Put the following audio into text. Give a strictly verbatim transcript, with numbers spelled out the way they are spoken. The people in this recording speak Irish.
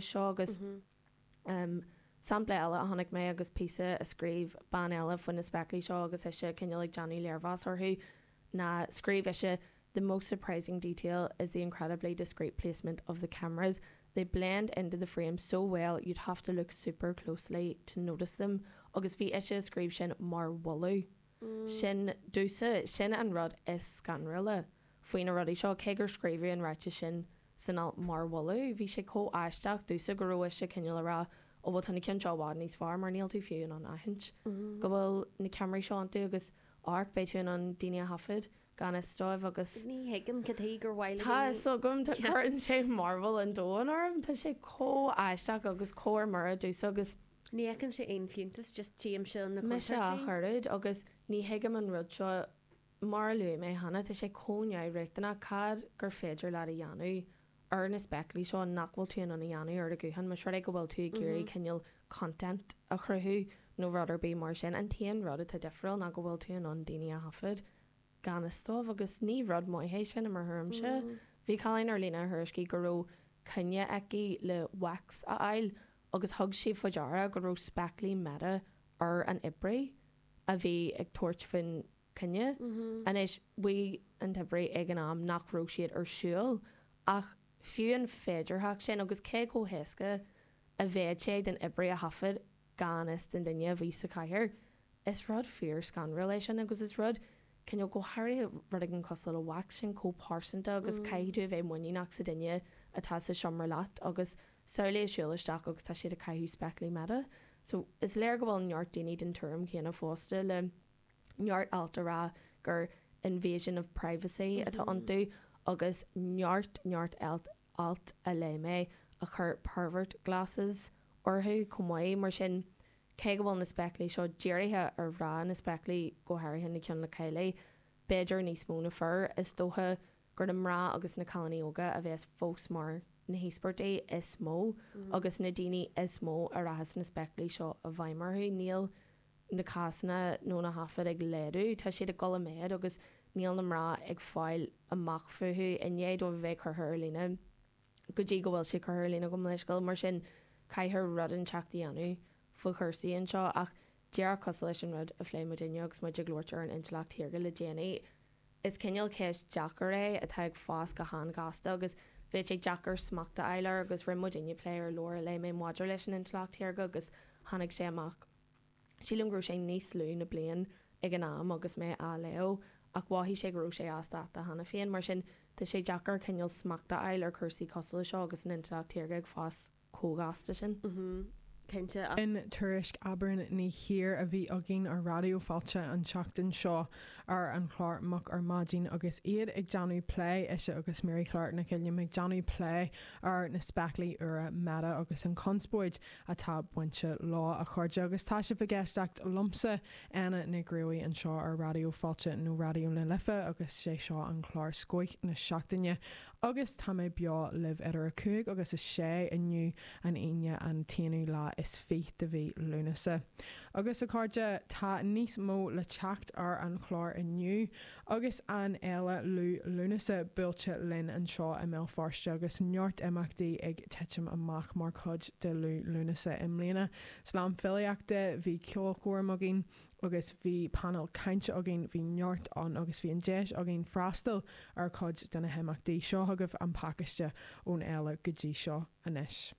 cheist seo agus um, sampla eile a chonaic mé agus píosa a scríobh bean eile faoi na spéaclaí seo agus ise cineál ag déanamh léirmheas orthu ná scríobh ise the most surprising detail is the incredibly discreet placement of the cameras. They blend into the frame so well you'd have to look super closely to notice them. Agus bhí ise scríobh sin mar mholadh. Sin domsa sin an rud is scanrúla faoi na rudaí seo cé gur scríobhadh an ráiteas sin san alt mar mholadh, bhí sé chomh aisteach domsa go raibh ise cineál ag rá ó bhfuil tá na cinn seo i bhfad níos fearr mar níl tú fiú in ann aithint go bhfuil na ceamaraí seo iontu agus amharc beidh tú in ann daoine a thaifead gan fhios dóibh agus Ní thuigim cad chuige gur mhaith le Tá daoine- so gom cuireann sé mearbhall an domhain orm Tá sé chomh aisteach agus chomh ar mire domsa agus Ní fheicimse aon fiúntas just tímse na Mise a contúirtí. chuird agus ní thuigim an rud seo mar a luaigh mé cheana tá sé chomh neamhriachtanach cad gur féidir leat a dhéanamh ar na spéaclaí seo nach bhfuil tú in ann a dhéanamh ar do ghuthán más rud é go bhfuil tú ag iarraidh cineál content a chruthú nó rud ar bith mar sin an t-aon rud atá difriúil ná go bhfuil tú in ann daoine a thaifead gan fhios dóibh agus ní rud maith é sin i mo thuairimse. Bhí cailín ar líne a thuairiscigh go raibh coinne aici le wax a fháil agus thug sí faoi deara go raibh spéaclaí Meta ar an oibrí a bhí ag tabhairt faoin choinne. Anois mhaígh an t-oibrí ag an am nach raibh siad ar siúl ach fiú an féidearthacht sin agus cé chomh héasca a bheadh sé den oibrí a thaifead gan fhios den duine a bhí sa chathaoir. Is rud fíor scanrúil é sin agus is rud cineál go háirithe rud éigin cosúil le wax sin chomh pearsanta agus caithfidh tú a bheith muiníneach sa duine atá sa seomra leat agus samhlaigh siúl isteach agus tá siad ag caitheamh spéaclaí Meta. So is léir go bhfuil neart daoine den tuairim chéanna fosta le neart alt a rá gur invasion of privacy atá iontu agus neart neart alt alt a léigh mé a chur pervert glasses orthu chomh maith mar sin cé go bhfuil na spéaclaí seo dírithe ar mhná na spéaclaí go háirithe na cinn le caillí, b'fhéidir níos mó na fir is dócha gur na mná agus na cailíní óga a bheas fós mar na híospartaigh is mó agus na daoine is mó a rachas na spéaclaí seo i bhfeidhm orthu níl na cásanna nó na taifid ag laghdú tá siad ag dul i méad agus níl na mná ag fáil amach fúthu i ndiaidh dóibh a bheith curtha ar líne go dtí go bhfuil sé curtha ar líne go leisciúil mar sin caithfear rud inteacht a dhéanamh faoi chúrsaí anseo ach díreach cosúil leis an rud a phléigh muidinne agus muid ag labhairt ar an intleacht shaorga le déanaí. Is cineál ceist deacair é atá ag fás go han-ghasta agus bheadh sé deacair smacht a fháil air agus rinne muidinne plé ar leabhar a léigh mé maidir leis an intleacht shaorga agus tháinig sé amach. Sílim go raibh sé níos lú na bliain ag an am agus mé á léamh ach mhothaigh sé go raibh sé as dáta cheana féin mar sin tá sé deacair cineál smacht a fháil ar chúrsaí cosúil seo agus an intleacht shaorga ag fás chomh gasta sin. Cinnte In tuairisc Aibreán ní hir a bhí againn ar Raidió Fáilte an tseachtain seo ar an chlár Moch ar Maidin agus iad ag déanamh plé ise agus Mary Clark na Cilliam ag déanamh plé ar na spéaclaí úra Meta agus an conspóid atá bainte leo a chairde agus tá sibh ag éisteacht liomsa Anna Ní Ghruaí anseo ar Raidió Fáilte nó Raidió na Life agus sé seo an clár Scoth na Seachtaine agus tá mé beo libh idir a cúig agus a sé inniu an Aoine an t-aonú lá is fiche de mhí Lúnasa. Agus a chairde tá níos mó le teacht ar an chlár inniu agus an fhéile Liú Lúnasa buailte linn anseo i mBéal Feirste agus neart imeachtaí ag titim amach mar chuid de Liú Lúnasa i mbliana. Slam filíochta bhí ceolchoirm againn agus bhí panel cainte againn bhí neart ann agus bhí an deis againn freastal ar chuid de na himeachtaí seo agaibh an pacáiste ón fhéile go dtí seo anois.